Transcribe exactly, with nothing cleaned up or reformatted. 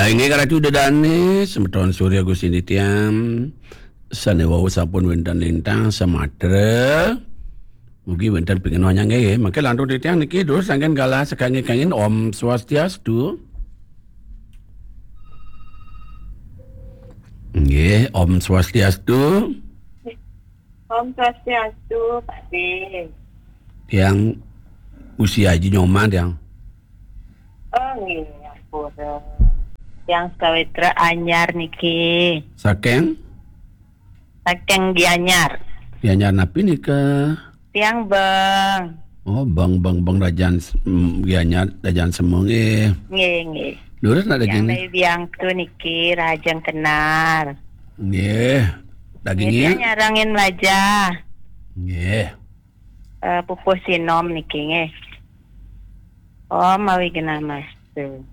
Inggih Ratu Dedane, semeton Surya Gusti Nitya, sane wau sampun wenten lintang samatra. Mugi wenten pingenuh nyangge, mangke lantur titiang niki terus sangken galah sekangge-kanggen. Om Swastiastu. Nggih, Om Swastiastu. Om Swastiastu, Pak De. Tiang usia aji nyoman tiang. Oh, nggih, ampun. Tiang sawitra anyar niki. Saking? Saking Gianyar. Gianyar napi nika? Tiang Bang. Oh, Bang, Bang, Bang Rajan, mm, Gianyar, Rajan Sema nggih. Nggih, nggih. Leres nak daging ni? Biang tu niki Rajang Kenar. Nggih. Daging ni? Nyarangin Melaja. Nggih. Eh, pupuh sinom niki nggih. Om Awighnamastu.